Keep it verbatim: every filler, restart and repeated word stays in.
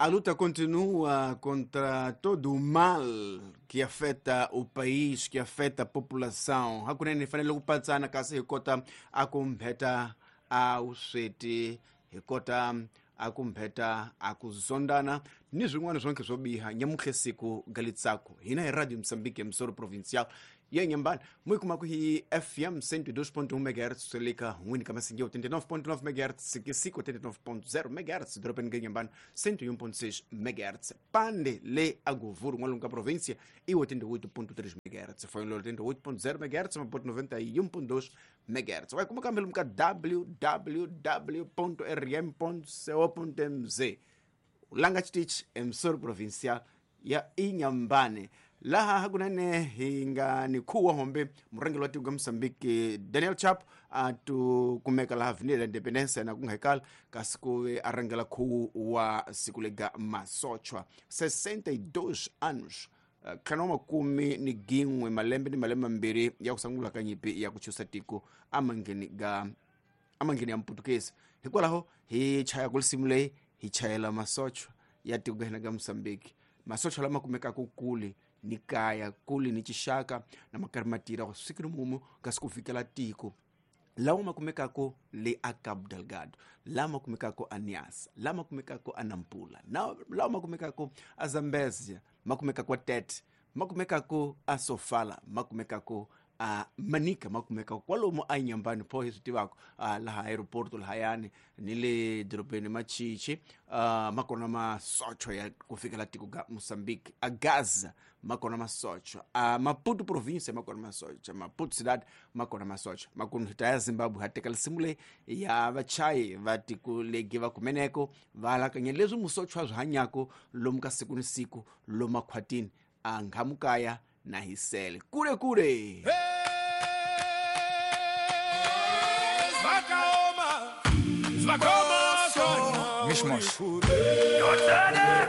A luta continua contra todo o mal que afeta o país, que afeta a população. Hakunene hi fanele ku patsana kasi hi kota a ku mbheta a vusweti, hi kota a ku mbheta a ku zondana ni swin'wana swonke swo biha. Nyamutlhe siku galitsako hina hi Radio Mozambique Msoro Provincial ya Inhambane, mu yi kumaka hi F M cento e dois ponto um megahertz Seleka n'wini ka Masinge oitenta e nove ponto nove megahertz Sikisiko oitenta e nove ponto zero megahertz Dorobeni ga Inhambane cento e um ponto seis megahertz Pande le Agovuro n'walungu ka província e oitenta e oito ponto três megahertz Foinlolo oitenta e oito ponto zero megahertz Maputo noventa e um ponto dois megahertz. Vai kuma kambelo ka w w w ponto r m ponto co ponto m z Langa Chitich Msoro Provincial ya Inhambane. Laha hakunene hi nga ni khuwa hombe murhangeri wa tiko ka Mozambique Daniel Chapo a tu kumeka laha Avenida Independência na ku nga hekala kasi ku ve a rhangela khuwu wa siku lega masochwa sessenta e dois anos ntlhanu wa makume ni gin'we malembe ni malembe mambirhi ya ku sungula ka nyimpi ya ku chusa tiko amangheni ga amangheni ya Mputukezi. Hikwalaho hi chaya ku risimu leyi hi chayela masochwa ya tiko ka hina ka Mozambique, masochwa lama kumekaka kule ni kaya kule ni chixaka na makarhi ma tirha ku siku ni mumu kasi ku fikela tiko lawa ma kumekaka le a Cabo Delgado, lama kumekaka a Niassa, lama kumekaka a Nampula, na lawa ma kumekaka a Zambezia, ma kumekaka a Tete, ma kumekaka a Sofala, ma kumekaka a Manica, ma kumekaka kwalomu a Inhambane pho hi swi tivaka laha aeroporto lahayani ni le dorobeni Machichi, ma kona masochwa ya ku fikela tiko ga Mozambique. A Gaza ma kona masochwa, a Maputo província ma kona masochwa, Maputo cidade ma kona masochwa. Makumu hi ta ya Zimbabwe ha teka risimu leyi ya vachayi va tiko legi va kumeneko va alakanya leswi musochwa swi hanyaka lomu ka siku ni siku lomu makhwatini a nghamukaya na hisele kule kule. Mishmosh.